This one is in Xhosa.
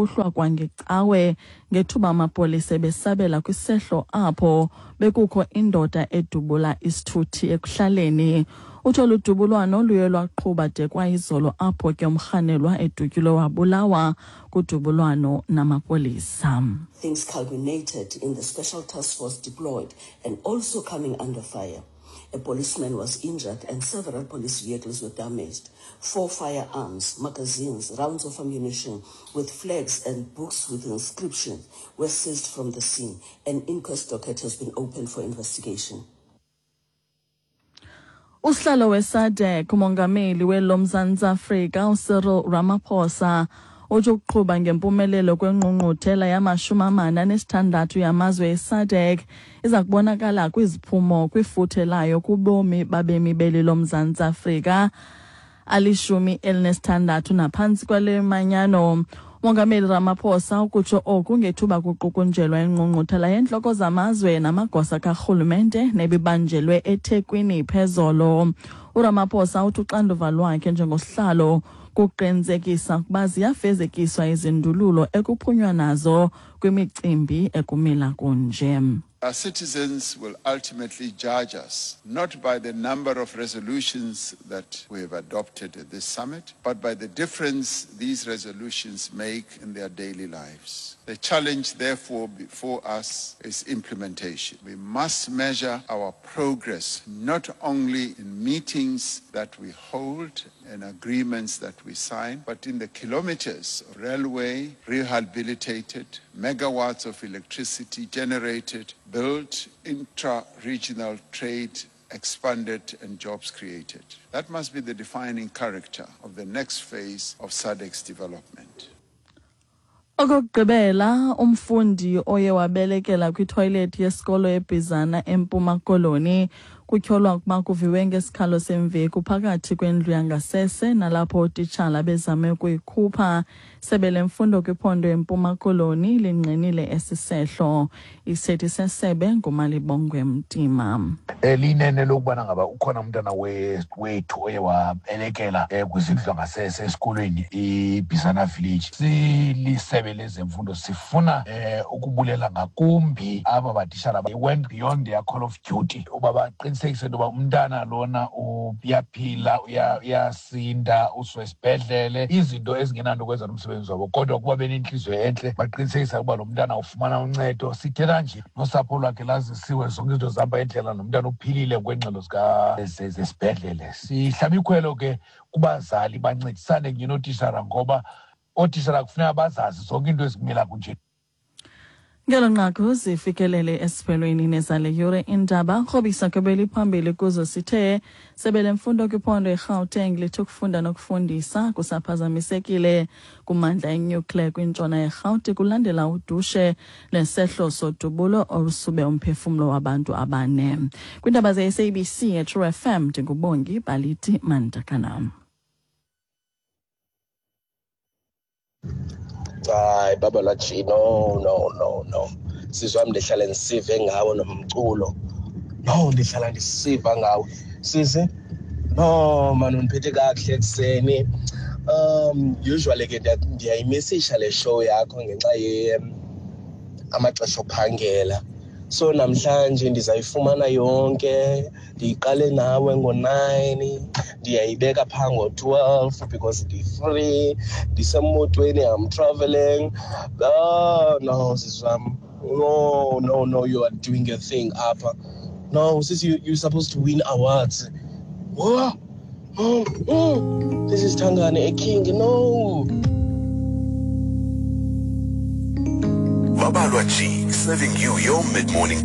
ngokuhlwa kwangecawe ngethuba amapolisa ebesabela kwisehlo apho bekukho indoda edubula isithuthi ekuhlaleni. Uthi olu dubulwano luye lwaqhuba de kwayizolo apho ke umrhanelwa edutyulwe wabulawa kudubulwano namapolisa. Things culminated in the special task force deployed and also coming under fire. A policeman was injured and several police vehicles were damaged. Four firearms, magazines, rounds of ammunition with flags and books with inscriptions were seized from the scene. An inquest docket has been opened for investigation. Usihlalo weSADC umongameli welo Mzantsi Afrika uCyril Ramaphosa uthi ukuqhuba ngempumelelo kwengqungquthela yama-46 yamazwe eSADC iza kubonakala kwiziphumo kwifuthe layo kubomi babemi beli loMzantsi Afrika ali-16 naphantsi kwale manyano. Umongameli Ramaphosa ukutsho oku ngethuba kuqukunjelwa ingqungquthela yentloko zamazwe namagosa karhulumente nebibanjelwe eThekwini phezolo. URamaphosa uthi uxanduva lwakhe njengosihlalo kuqinisekisa ukuba ziyafezekiswa izindululo ekuphunywa nazo kwimicimbi ekumila kunje. Our citizens will ultimately judge us not by the number of resolutions that we have adopted at this summit, but by the difference these resolutions make in their daily lives. The challenge, therefore, before us is implementation. We must measure our progress not only in meetings that we hold and agreements that we sign, but in the kilometers of railway rehabilitated, megawatts of electricity generated, built, intra-regional trade expanded and jobs created. That must be the defining character of the next phase of SADC's development. Okokugqibela, umfundi oye wabelekela kwithoyilethi yesikolo eBhizana eMpuma Koloni kutyholwa ukuba kuviwe ngesikhalo semveku phakathi kwendlu yangasese nalapho ootitshala bezame ukuyikhupha. Sebe lemfundo kwiphondo eMpuma Koloni lingqinile esi sehlo. Isithethi sesebe nguMalibongwe Mtima. Linene lokubana ngaba ukhona umntana wethu oye wabelekela kwizindlu zangasese esikolweni iBhisana Village. Silisebe lezemfundo sifuna ukubulela ngakumbi aba batishala went beyond their call of duty uba baqinisekise into yoba umntana lona uyaphila, uyasinda, usiwa esibhedlele, izinto ezingenanto kwenza nomsebenzi wabo, kodwa kuba benentliziyo entle baqinisekisa ukuba lo mntana ufumana uncedo. Sithetha nje nosapho lwakhe lazisiwe, zonke izinto zihamba indlela, nomntana uphilile ngokweengxelo zesibhedlele. Sihlaba ikhwelo ke kubazali bancedisane kunye nootishara, ngoba ootishara kufuneka bazazi zonke iinto ezikumila kunje. Ngelo nqaku zifikelele esiphelweni nezale yure indaba. Krobisa kwebeli phambili kuzo sithe sebe lemfundo kwiphondo eGauteng lithi ukufunda nokufundisa kusaphazamisekile kumandla enuclear kwintshona yeRhawuti kulandela udushe nesehlo sodubulo olusube umphefumlo wabantu abane. Kwiindaba ze-SABC eTrue FM, ndinguBongi Baliti Mandakana. Hayi baba laji, no, no, no, no, sisi wam, ndihlala ndisive ngawo nomculo. No, ndihlala ndisiva ngawo sisi. No man, undiphethe kakuhle ekuseni. Usually ke ndiyayimisisha le show yakho ngenxa ye amaxesha ophangela, so namhlanje ndizayifumana yonke. Ndiyiqale nawe ngo-9, ndiyayibeka phaa ngo-12 because ndi-free, ndisemotweni, I'm traveling. Oh no, sisi wam, no, no, no, you are doing your thing apha. No sis, you're supposed to win awards. Oh, oh. This is Tangane, a king. No. Babalwa G, serving you your mid-morning